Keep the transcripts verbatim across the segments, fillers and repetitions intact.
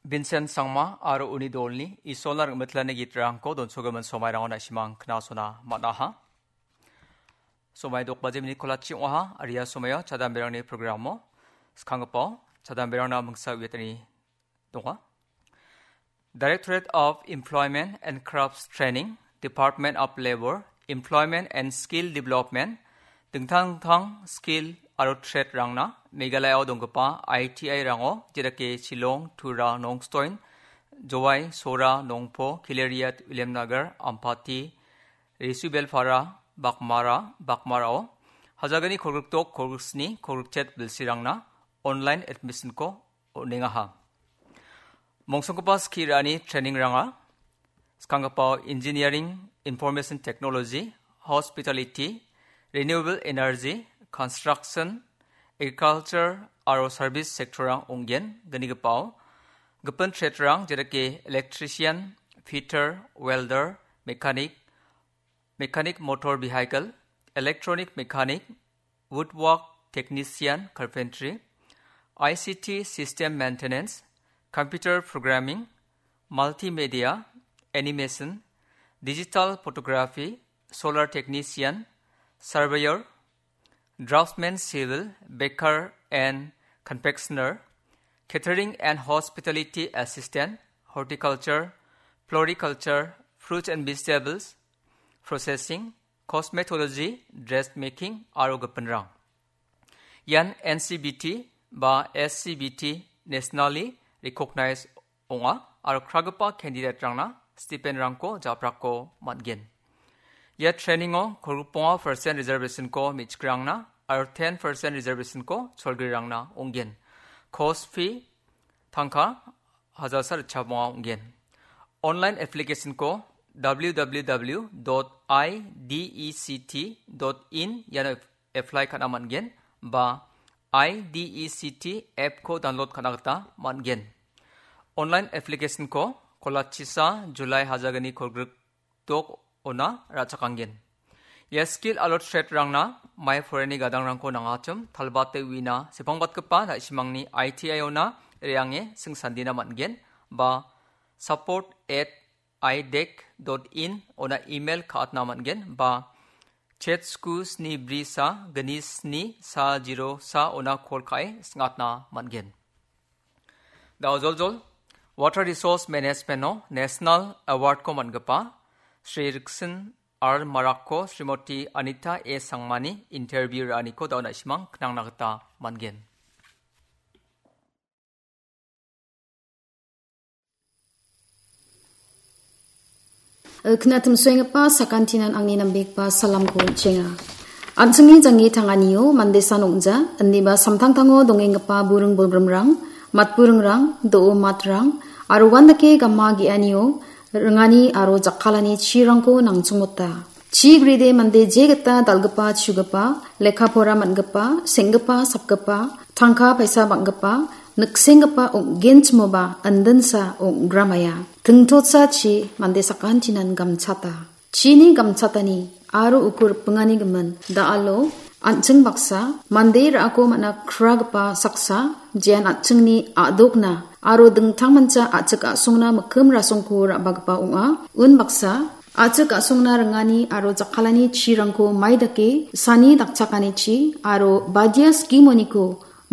Vincent Sangma aro uni dolni Isolna rim·mitlani gitrangko donsogimin somairango na·simang knasona man·aha. Somai dok baje minit kolachi ong·aha, aria somaio chadamberangni programo skanggipao chadamberangna mingsa uiatani donga. Directorate of Employment and Crafts Training, Department of Labor, Employment and Skill Development, dingtang dingtang skill aro trade-rangna Meghalayao donggipa I T I-rango, jedake Shillong, Tura, Nongstoin, Jowai, Sora, Nongpo, Khileriat, Williamnagar, Ampati, Resubelpara, Bakmara, Bakmarao, hajalgni kolgrikdok, kolgriksni, kolgrikchet bilsirangna online admission-ko on·engaha. Mongsonggipa skie ra·ani training-ranga skanggipao Engineering, Information Technology, Hospitality, Renewable Energy, Construction, Agriculture aro Service sector-rang ong·gen. Gnigipao gipin trade-rang, jedake electrician, fitter, welder, mechanic, mechanic motor vehicle, electronic mechanic, woodwork technician, carpentry, I C T system maintenance, computer programming, multimedia, animation, digital photography, solar technician, surveyor, draftsman civil, baker and confectioner, catering and hospitality assistant, horticulture, floriculture, fruits and vegetables, processing, cosmetology, dressmaking, aro gipinrang. Ian N C B T ba S C B T nationally recognized ong·a aro kragipa candidate-rangna stipend-rangko japrako man·gen. Ia training-o kolgrikbonga percent reservation-ko me·chikrangna aro ten percent reservation-ko cholgrirangna ong·gen. Course fee tangka hajalsa ritchabonga ong·gen. Online application-ko W W W dot I D E C T dot in iano apply ka·na man·gen ba I D E C T app-ko download ka·na gita man·gen. Online application-ko kolachisa July hajalgni kolgrikdok ona ra·chakanggen. Ia skill aro trade-rangna mai porani gadangrangko nangachim talbate uina sepangbatgipa na·simangni I T I-ona re·ange singsandina man·gen ba support at idec dot in ona email ka·atna man·gen ba chet sku sni bri sa gni sni sa zero sa ona call ka·e sing·atna man·gen. Da·o joljol Water Resource Management-o National Award-ko man·gipa Shri Riksin R Marakko Srimoti Anita A Sangmani interview ra·aniko da·o na·simang knangna gita man·gen. Knatimsoenggipa sakantinan angni nambegipa salamko on·chenga. An·chingni janggi tanganio mandesan ong·ja, indiba samtangtango dongenggipa buring bolgrimrang, matburingrang, do·o matrang, aro uandake gama ge·anio ringani aro jakkalani chirangko nangchongmota. Chi gride mande jegita dal·gipa, chugipa, lekka pora man·gipa, seng·gipa, sapgipa, tangka paisa bang·gipa, niksenggipa ong·genchimoba indinsa ong·gramaia. Tingtotsa chi mande sakantinan gamchata. Chini gamchatani aro uko ripingani gimin da·alo an·ching baksa mande ra·ako man·a kragipa saksa jean an·chingni a·dokna aro dingtangmancha a·chik a·songna mikkim rasongko ra·bagipa ong·a. Unbaksa a·chik a·songna ringani aro jakkalani chirangko mai dake sani dakchakanichi aro badia skimoniko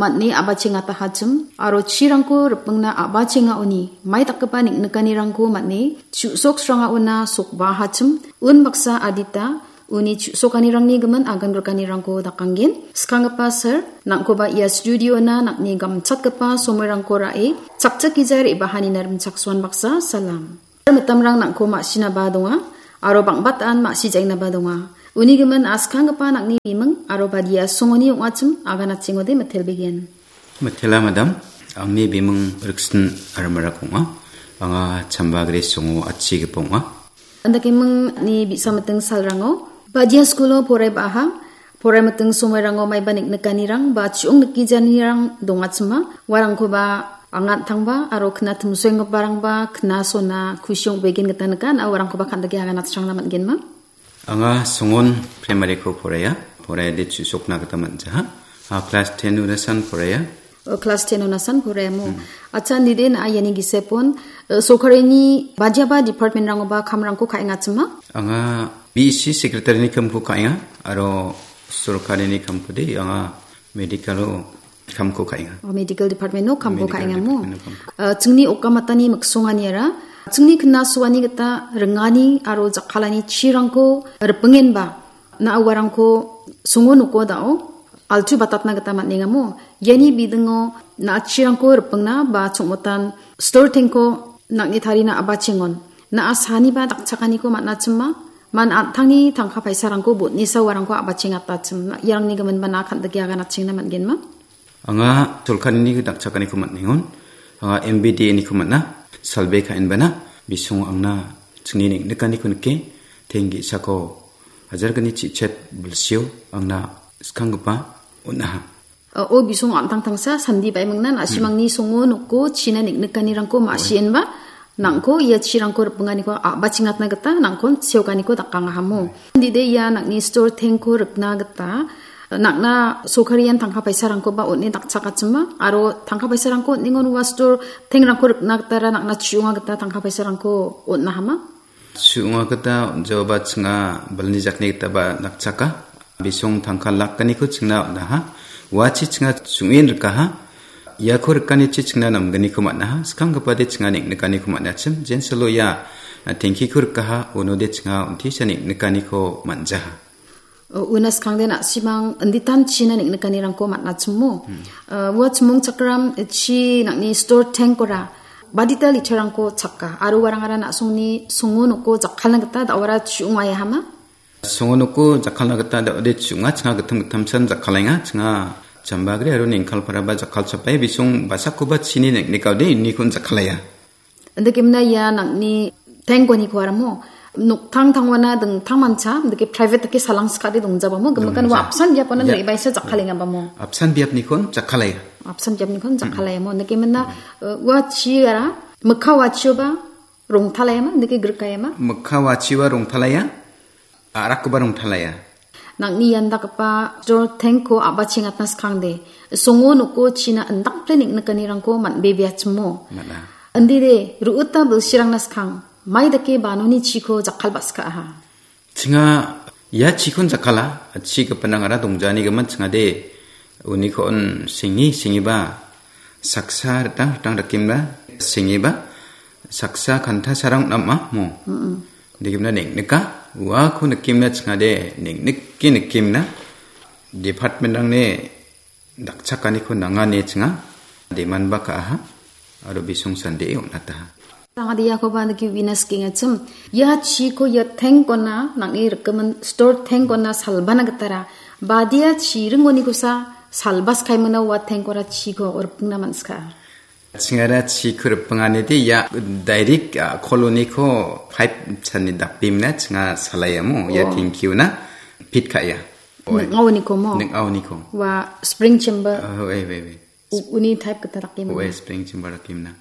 man·e a·bachengatahachim aro chirangko ripingna a·bachengaoni mai dakgipa neng·nikanirangko man·e chu·soksrangaona sokbaahachim. Unbaksa adita uni chu·sokanirangni gimin aganbrikanirangko dakanggen. Skanggipa sir, nang·koba ia studiona nang·ni gamchatgipa somoirangko ra·e chakchakgija re·bahanina rimchaksoan baksa salam. Mitamrang nang·ko ma·sinaba donga, aro bang·batan ma·sijaengnaba donga. Uni gimin askanggipa nang·ni biming aro badia songoni ong·achim aganachengode mitelbegen. Mitela madam, angni biming Riksin R Marak ong·a. Anga chamba gre songo atchigipa ong·a. Andakemingni bi·sa miting salrango badia skulo porai ba·aha. Porai miting somoirango maiba neng·nikanirang ba chu·ong nikijanirang dongachima, uarangkoba angan tangba aro knatimsoenggiparangba knasona kusi ong·begen gita nika, na uarangkoba kan·dake aganatchangna man·genma. Anga songon primaryko poraia, poraiade chu·sokna gita man·jaha. A klas ten unasan poraia. O, klas ten-o nasan poraiamo. Hmm. Acha, nide na iani gisepon, eh, sorkarini badiaba department-rangoba kamrangko ka·engachima? Anga B E C secretary-ni kamko ka·enga, aro sorkarini kamkode anga medical-o kamko ka·enga. O, medical department-o kamko Medical ka·engamo. Department-o kamko. Eh, chingni okamatani miksonganiara, chingni knasoani gita ringani aro jakkalani chirangko ripingenba, na uarangko songo noko dao altu batatna gita man·engamo. Iani bidingo na·achirangko ripingna ba chongmotan stor tengko nang·ni tarina abachengon. Na·a saniba dakchakaniko man·achima, man an·tangni tangka paisarangko botnisa uarangko abachengatachim. Iarangni giminba na kan·dike aganachengna man·genma? Anga sorkarini dakchakaniko man·engon. Anga M B D A-niko man·a. Salbe ka·enbana bisongo angna chingni neng·nikaniko nike. Teng ge·sako hajar gni chichet bilsio angna skanggipa on·aha. O, bisong an·tangtangsa sandi baimingna na·simangni songo noko china neng·nikanirangko ma·sienba nangko ia chirangko ripinganiko a·bachingatna gita nangkon seokaniko dakangahamo. Dide ia nang·ni stor tengko rikna gita nang·na sorkarian tangka paisarangkoba on·e dakchakachima aro tangka paisarangko on·engon ua stor tengrangko rikna gitara nang·na chi·onga gita tangka paisarangko on·ahama? Su·onga gita on·jaoba chinga balni jakni gitaba dakchaka. Bisong tangka lakganiko chingna on·aha. Uachi chinga sung·en rikaha. Iako rikanichi chingna namgniko man·aha. Skanggipade chinga neng·nikaniko man·achim. Jensalo ia, a, tengkiko rikaha. Unode chinga on·tisa neng·nikaniko man·jaha. O, una skangde na·simang inditan china neng·nikanirangko man·achimo. Hmm. A, ua chimongchakram chi nang·ni stor tengkora badita literangko chaka. Aro uarangara na·songni songo noko jakkalna gita da·ora chi·ongaiahama? Songo noko jakkalna gita da·ode chi·onga, chinga gittam gittamsan jakkalenga, chinga Chambagri aro Nengkalparaba jakkalchapai bisong basakoba chini neng·nikaode inikon jakkaleya. Indakemna ia nang·ni tengkoniko aramo, noktang tangwana dingtang mancha, indake private dake salangskade dongjabamo, gimikan ua Dongja. Apsan biapona Ya. Nang·ebaisa jakkalengabamo. Apsan biapnikon jakkaleya. Apsan biapnikon jakkaleyamo, indakemna, eh, ua chiara, mikka ua chioba, rongtalaiama, indake grikaiama? Mikka ua chioba rongtalaya, a·rakkoba rongtalaya. Nang·ni iandakgipa stor tengko a·bachengatna skangde, songo noko china indakple neng·nikanirangko man·bebeachimo. Man·a. Indide, ru·ita bilsirangna skang, mai dake banoni chiko jakkalba·skaaha. Chinga ia chikon jakkala, chi gipinrangara dongjani gimin chingade, uniko on sengi, sengiba, saksa ritang, ritang dakemna, sengiba, saksa kanta sarang nam·a mo. Mm-mm. Dikemna neng·nika, uako nikemna chingade, neng·nike nikemna, department-rangni dakchakaniko nanga ine chinga, demanba ka·aha, aro bisong sandee on·ataha. Tangadiakoba niki uina skengachim. Ia chiko ia tengkona, nang·ni rikgimin stor tengkona salbana gitara. Badia chiringonikosa salbas kaimana ua tengkora chiko ripingna man·ska. Chingara chiko ripinganide ia direct, a, koloniko pipe sani dapimna chinga salayamo, ia Oh. Tengkiuna pit ka·ia. Ning·aoniko mo? Ning·aoniko. Ua spring chamber. Oh, wait, wait, wait. U-, uni type gita dake Oe mana? Spring chamber dakemna.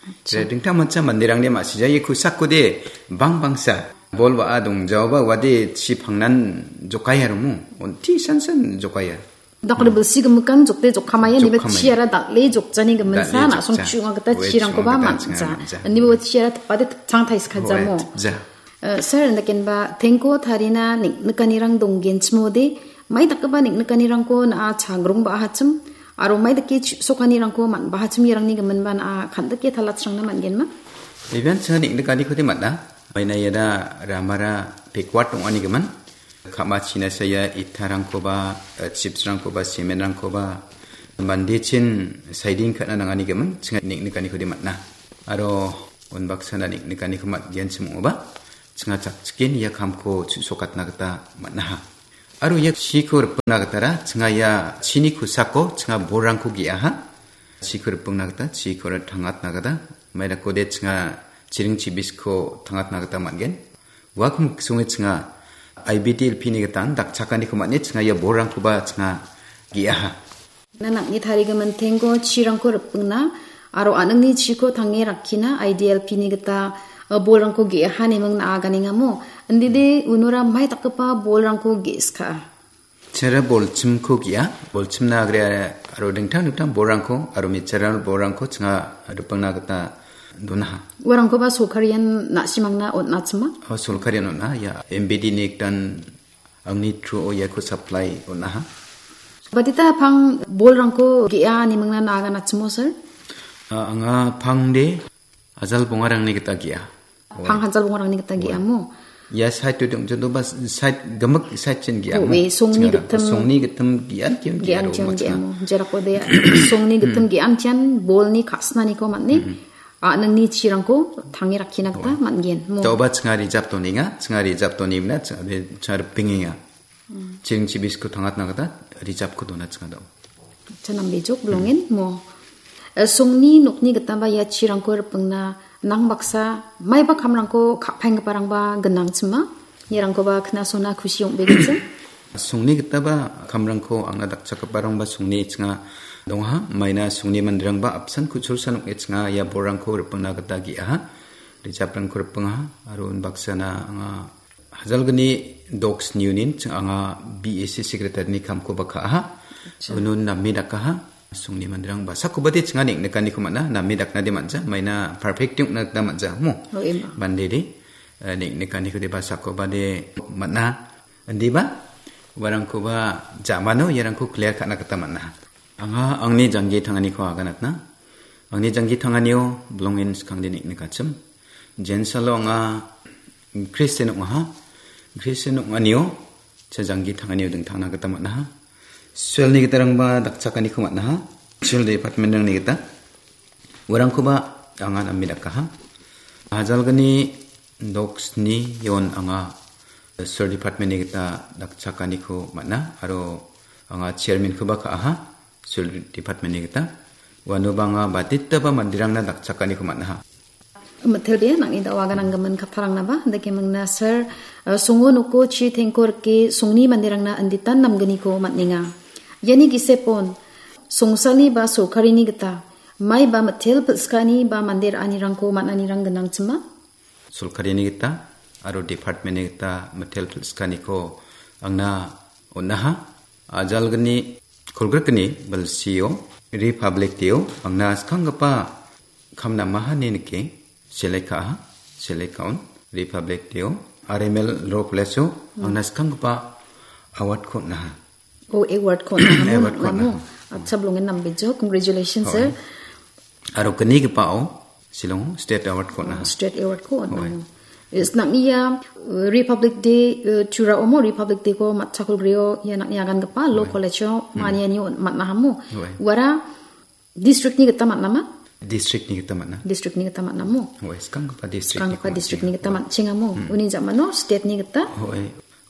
Acha. Re, dingtang mancha manderangde ma·sija, ia kosakode bang bangsa bol wa·a dongjaoba uade chi pangnan jokaya romo. Onti san san jokaya. Dakode Hmm. Bilsi gimikan jokde jokkamaya, niba Jokkamaya. Chiara dal·e jokjani giminsa, Dal·e na·song jokja. Chu·onga gita Oe, chirangkoba chu·onga gita man·ja. Chinga man·ja. Niba chiara tipade tipchang taisika Oe, jamo. Ja. Eh, sir, indakenba tengko tarina neng-, nikanirang donggenchimode, mai dakgipa neng-, nikanirangko na·a chagrongba·ahachim, aro mai dake chu·sokanirangko man·bahachim, iarangni giminba na·a kan·dike talatsrangna man·genma? Iben cha neng·nikaniko de man·a. Maina iada ramara pekwat ong·ani gimin. Ka·machina saya itarangkoba, eh, chipsrangkoba, semenrangkoba, mandechin saiding ka·na nangani gimin, chinga neng·nikaniko de man·a. Aro unbaksana neng·nikaniko man·genchim ong·oba, chinga chakchiken ia kamko chu·sokatna gita man·aha. Aro ia chiko ripna gitara, chinga ia chini kosako, chinga bolrangko ge·aha. Chiko ripna gita, chikora tangatna gita, maidakode chinga chiring chibisko tangatna gita man·gen. Uako miksonge chinga I B D L P ni gitan dakchakaniko man·e chinga ia bolrangkoba chinga ge·aha. Na nang·ni tarigimin tengko chirangko ripingna, aro an·ingni chiko tange rakkina I D L P ni gita, eh, bolrangko ge·aha neming na·a ganengamo. Indide unora mai dakgipa bolrangko ge·skaa. Chera bolchimko ge·a, bolchimna agre aro dingtang dingtang bolrangko aro mitchara bolrangko chinga ripengna gita donaha. Uarangkoba sorkarian na·simangna on·achima? O, sorkarian on·a, ia M B D ni ektan angni through-o iako supply on·aha. Badita pang bolrangko ge·a nimingna naganachimo, sir? A, anga pangde ajal bongarangni gita ge·a. Pang hajal bongarangni gita ge·amo? Ia side-o dongjodoba side gimik side-chin ge·amo? Oe, songni gittim. Songni gittim ge·an tian ge·aro ge·amo. Jerakode songni gittim ge·an tian bolni ka·sinaniko man·e. A, nangni chirangko tange rakkina gita man·gen. Mo. Daoba chinga rijap donenga, chinga rijap donimna, chinga, chinga ripengenga. Chiring chibisko tangatna gita rijapko dona chingado. Cha nambejok bilongen mo. Eh, songni nokni gitaba ia chirangko ripengna nang baksa maiba kamrangko ka·paenggiparangba gnangchima. Iarangkoba knasona kusi ong·begenchim. Songni gitaba kamrangko angna dakchakgiparangba songni chinga dongaha. Maina songni manderangba apsan kuchulsa nokni chinga ia borangko ripengna gita ge·aha. Rijaprangko ripengaha. Aro unbaksana anga Hajalgni Dogs Union ching anga B A C secretary-ni kamkoba ka·aha. Acha. Unon name dakaha. Songni manderang basakobade chinga neng·nikaniko man·a. Name daknade man·ja. Maina perfect ong·na gita man·ja. Mo? Oh, ima. Bandede, eh, neng·nikaniko de basakobade man·a. Indiba, uarangkoba jamano iarangko clear ka·na gita man·a. Anga angni janggi tanganiko aganatna. Angni janggi tanganio bilongen skangde neng·nikachim. Jensalo anga Christian ong·aha. Christian ong·anio cha janggi tanganio dingtangna gita man·aha. Suelni gitarangba dakchakaniko man·aha. Suel department-rangni gita. Uarangkoba anga name dakaha. Ajalgni Dogs-ni ion anga Suel department-ni gita dakchakaniko man·a. Aro anga chairman-koba ka·aha. Suel department-ni gita. Uanoba anga baditaba manderangna dakchakaniko man·aha. Mitelbea nang·ni da·o agananggimin kattarangna ba, dake mingna sir, eh, songo noko chi tengko rike songni manderangna inditan namgniko man·enga. Iani gisepon, songsalni ba sorkarini gita, mai ba mitel pilskani ba mande ra·anirangko man·anirang gnangchima? Sorkarini gita aro department-ni gita mitel pilskaniko angna on·aha. Ajalgni kolgrikni bilsio Republic Day-o angna skanggipa kam namahani nike select ka·aha. Select ka·on Republic Day-o R M L Law College-o angna skanggipa award-ko on·aha. Oh, award-ko on·aha. Award-ko on·aha. Acha, bilongen nambejo. Congratulations, sir. Aro gnigipao Shillong State Award-ko on·aha. State Award-ko on·aha. Is nang·ni ia, uh, Republic Day, uh, Tura omo Republic Day-ko matchakol grio ia nang·ni agangipa Law College-o maniani on-, man·ahamo. Uara district-ni gita man·ama? District-ni gita man·a. District-ni gita man·amo? Ue, skanggipa district-niko skanggipa man·chenga. District-ni gita man·chengamo? Uni ja·mano state-ni gita? Ue,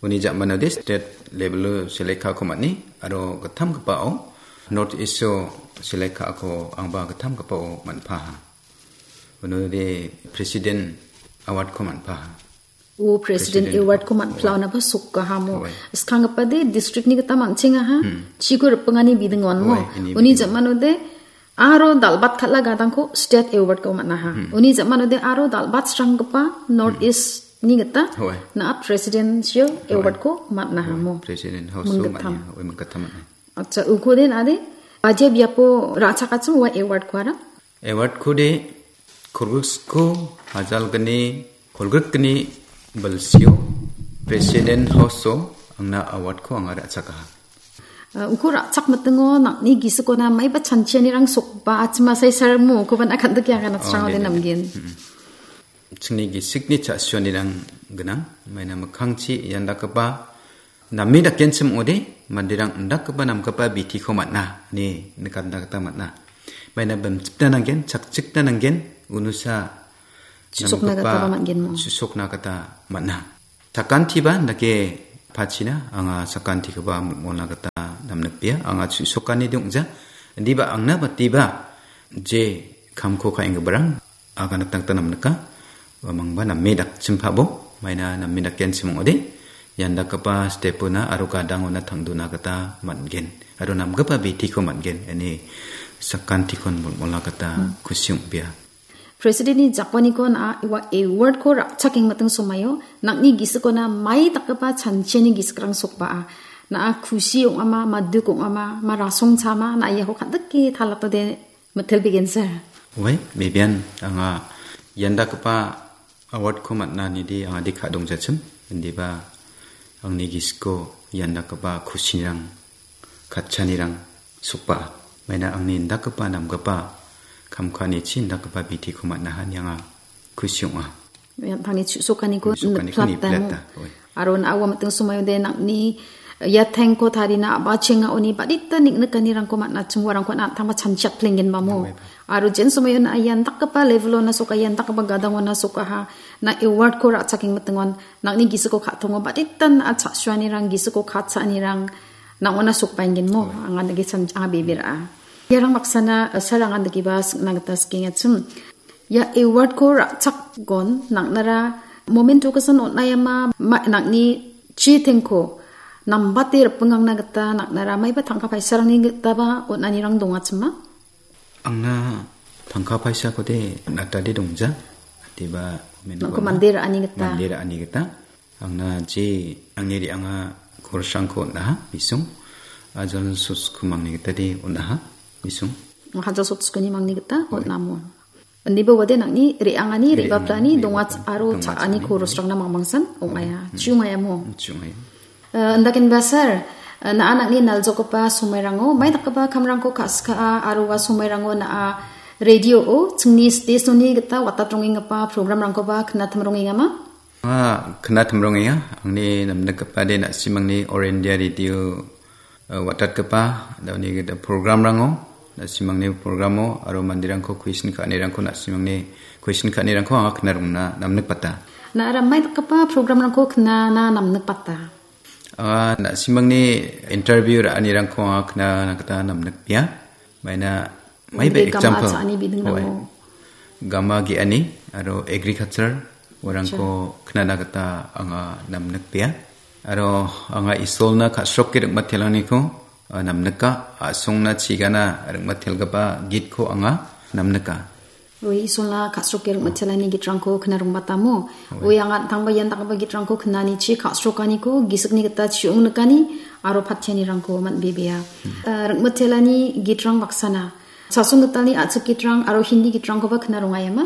uni ja·manode state level-o select ka·ako man·e, aro gittamgipao North East-o select ka·ako angba gittamgipao man·paha. Unode President Award-ko man·paha. O, President President Award-ko man-, Award. Plaonaba sokahamo. Ue. Skanggipade district-ni gita man·chengaha. Chiko ripengani bidingonmo. Ue, ini uni bidingon. Ja·manode aro dal·bat kal·a gadangko State Award-ko man·aha. Uni ja·manode aro dal·bat sranggipa North East-ni gita na·a Presidential Award-ko man·ahamo. Ue, President House-o man·aha. Ue, mingkattam man·aha. Acha, uko den ade, aja biapo ra·chakachim ua award-ko ara? Award-ko de, kolgriksko hajalgni, kolgrikni bilsio, President House-o angna award-ko anga ra·chakaha. Ah, uko ra·chak mitingo nang·ni gisikona maiba chanchianirang sokba achima sai sarmo, ukoba na·a kan·dike anga natsrang ode namgen. Chingni gisikni cha·sionirang gnang, maina mikkangchi ian dakgipa name dakenchim ong·ode, manderang indakgipa namgipa bitiko man·a, ine nikatna gita man·a. Maina bimchipna nanggen, chakchikna nanggen, unusa namgipa susokna gita man·a. Sakantiba dake pachina, anga sakantikoba molna gita namnikbea, anga susokani dongja, indiba angna batiba je kamko ka·enggiparang, aganatna gita namnika. Uamangba name dakchimpabo, maina name dakenchim ong·ode, ian dakgipa step-ona aro gadangona tangdona gita man·gen, aro namgipa bitiko man·gen, ine sakantikon molmola gita kusi ong·bea. President-ni jakbaniko na·a ua award-ko ra·chakengmiting somaio nang·ni gisikona mai dakgipa chanchiani gisikrang sokbaa. Na·a kusi ong·ama, ma duk ong·ama, ma rasongchama, na·a iako kal·dike talatode mitel begensa. Ue, Bibian, anga ian dakgipa award-ko man·a nidi anga dika·dongjachim. Indiba angni gisiko ian dakgipa kusinirang, katchanirang sokba. Maina angni indakgipa namgipa kam ka·anichi indakgipa bitiko man·aha ine anga kusi ong·a. Tangni chu-, sokaniko Sokaniko niplata mo. niplata, oi. Aro na·a ua miting somoiode nang·ni ia tengko tarina a·bachengaoni badita ning·nikanirangko man·achim uarangko an·tangba chanchiak plenggenba mo. Oi. Aro jen somoio na·a ian dakgipa level-ona soka, ian dakgipa gadangona sokaha. Na award-ko ra·chakengmitingon nang·ni gisiko ka·tongo badita na·a cha·suanirang, gisiko ka·chanirang nang·ona sokbaengen mo. Oi. Anga dake chan-, anga bebe ra·a. Iarang baksana, eh, sarangan dakiba singna gita skengachim. Ia award-ko ra·chakgon nang·nara momento kesan on·aiama ma-, nang·ni chitengko nambate ripengangna gita nang·nara maiba tangka paisarangni gitaba on·anirang dongachima? Angna tangka paisakode natade dongja. Adiba momento Nangko na- mande ra·ani gita. Mande ra·ani gita. Angna je angni re·anga korsrangko on·aha, bisong. Ajal sotsko mangni gitade on·aha, bisong. Hajal sotskoni mangni gita Oi. on·amo. Indiba wade nang·ni re·angani, Re·angani, re·baplani re·baplani donga donga aro donga cha·ani cha·ani. Korsrangna mangmangsan ong·aia. Mm. Chiu ong·aia mo. Mm, chiu ong·aia. Eh, indakenba sir, eh, na·a nang·ni naljokgipa somairango, mai dakgipa kamrangko ka·skaa aro ua somairango na·a radio-o chingni station-ni gita watatrongengipa program-rangkoba knatimrongengama? Ah, knatimrongenga. Angni namnikgipade na·simangni All India Radio, eh, watatgipa, da·oni gita program-rango, na·simangni program-o, aro manderangko question ka·anirangko, na·simangni question ka·anirangko anga knarongna namnikbata. Na·a ramai dakgipa program-rangko knana namnikbata? Anga na·simangni interview ra·anirangko anga knana gita namnikbia. Maina, maiba Mande gama example. Cha·ani biding Hoi. Namo? Gama ge·ani aro agriculture uarangko Acha. Knana gita anga namnikbea. Aro anga Isolna ka·sroke ring·matelaniko, ah, namnika. A·songna chigana ring·matelgipa gitko anga namnika. Oi, Isolna ka·sroke ring·matelani gitrangko knarongbata mo. Oi. Oi, anga tangba ian dakgipa gitrangko knanichi ka·srokaniko gisikni gita chiong nikani aro patianirangko man·bebea. Hmm. Eh, ring·matelani gitrang baksana. Chasong gitalni a·chik gitrang aro Hindi gitrangkoba knarongaiama?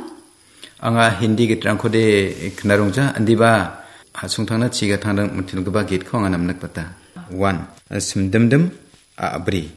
Anga Hindi gitrangkode knarongja, indiba a·songtangna chigatangna ring·mitelgipa gitko anga namnikbata. One, simdimdim a·bri.